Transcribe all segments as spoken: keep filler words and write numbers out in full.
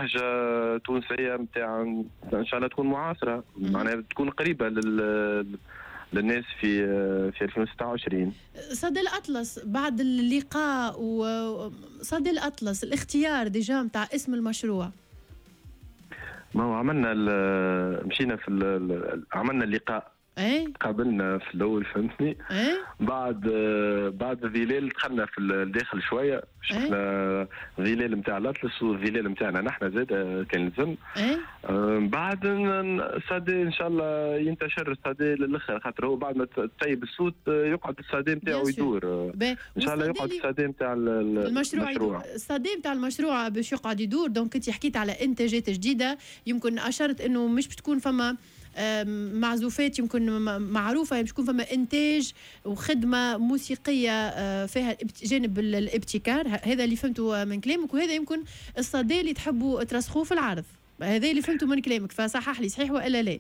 بلهجة تونسية نتاع ان شاء الله تكون معاصره، معناها تكون قريبه لل للناس في في ألفين وستة وعشرين. صدى الأطلس، بعد اللقاء وصدى الأطلس، الاختيار déjà نتاع اسم المشروع؟ ما هو عملنا، مشينا في، عملنا اللقاء، ايه قابلنا في الاول، فهمتني؟ ايه بعد بعد الظلال دخلنا في الداخل شويه، شفنا ايه؟ الظلال نتاع الاطلس والظلال نتاعنا نحن زاد كان لزم. ايه بعد الصدى ان شاء الله ينتشر الصدى للاخر، خاطر هو بعد ما تسيب الصوت يقعد الصدى نتاعو يدور. ان شاء الله يقعد الصدى نتاع المشروع، المشروع الصدى نتاع المشروع باش يقعد يدور. donc انت حكيت على انتاجات جديده، يمكن اشرت انه مش بتكون فما معزوفات يمكن معروفه، باش يكون فما انتاج وخدمه موسيقية آه، فيها جانب الابتكار. هذا اللي فهمته من كلامك، وهذا يمكن الصدى اللي تحبوا ترسخوه في العرض. هذا اللي فهمته من كلامك، فصحح لي، صحيح والا لا؟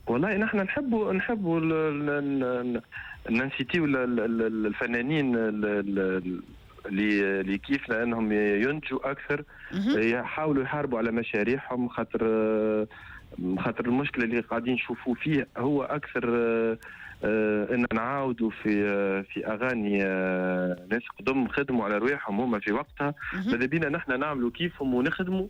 والله نحن نحبوا نحبوا ن inciter و الفنانين اللي اللي كيفنا انهم ينتجوا اكثر، يحاولوا يحاربوا على مشاريعهم، خاطر خاطر المشكلة اللي قاعدين نشوفوا فيه هو اكثر آه، آه، ان نعاودوا في آه، في اغاني ناس قدم خدموا على رواحهم هما في وقتها. ماذا بينا نحن نعملوا كيفهم ونخدموا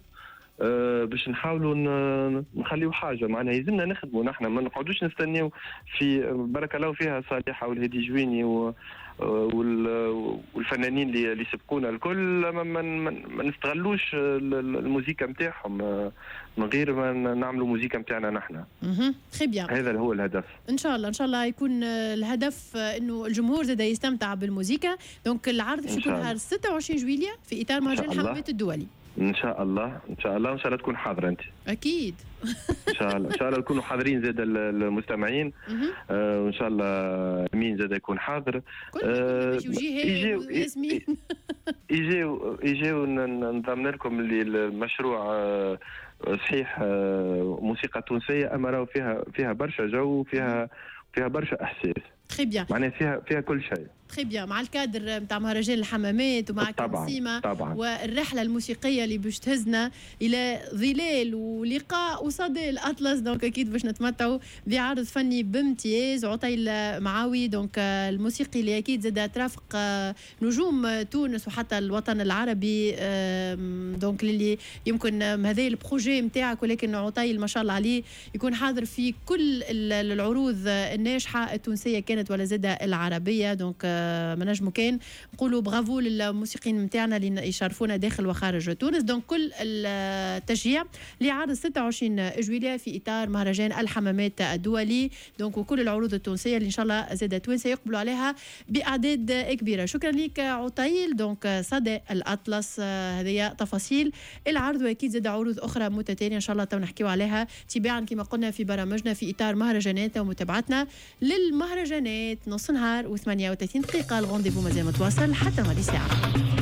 باش نحاولوا نخليو حاجه، معناها يلزمنا نخدموا نحن، ما نقعدوش نستناو في بارك الله فيها صالحه والهادي جويني والفنانين اللي اللي سبقونا الكل، ما, ما, ما نستغلوش الموزيكا نتاعهم من غير ما نعملوا موزيكا نتاعنا نحن. très bien. هذا هو الهدف. ان شاء الله، ان شاء الله يكون الهدف انه الجمهور زاد يستمتع بالموزيكا. donc العرض باش يكون نهار ستة وعشرين جويليا في اطار مهرجان الحمامات الدولي. ان شاء الله، ان شاء الله، ان شاء الله تكون حاضره انت. اكيد. ان شاء الله، ان شاء الله نكونوا حاضرين زاد المستمعين، آه وان شاء الله امين زاد يكون حاضر. آه يجيو ياسمين. يجيو يجيو نضمن لكم اللي المشروع آه صحيح آه موسيقى تونسيه، اما راهو فيها فيها برشا جو، فيها فيها برشا احساس. très bien. معناها فيها فيها كل شيء. très bien، مع الكادر نتاع مهرجان الحمامات ومع طبعا طبعا والرحلة الموسيقية اللي باش تهزنا الى ظلال ولقاء وصدى الاطلس، donc اكيد باش نتمتعوا بعرض فني بامتياز. عطيل معاوي، donc الموسيقي اللي اكيد زاد ترافق نجوم تونس وحتى الوطن العربي، donc اللي يمكن هذا ال projet نتاعك، ولكن عطيل ما شاء الله عليه يكون حاضر في كل العروض الناجحة التونسية كانت ولا زاد العربيه. donc ما نجمو كان نقولوا برافو للموسيقيين نتاعنا اللي يشرفونا داخل وخارج تونس. donc كل التشجيع لعرض ستة وعشرين جويلية في اطار مهرجان الحمامات الدولي، donc وكل العروض التونسية اللي ان شاء الله زاد توانسة يقبلوا عليها باعداد كبيره. شكرا لك عطيل. donc صدى الاطلس، هذه تفاصيل العرض، واكيد زاد عروض اخرى متتالية ان شاء الله تو نحكيو عليها تباعا كما قلنا في برامجنا في اطار مهرجانات ومتابعتنا للمهرجانات. نص نهار وثمانية وثلاثين دقيقه، ال rendez-vous مازال متواصل حتى ماضي ساعه.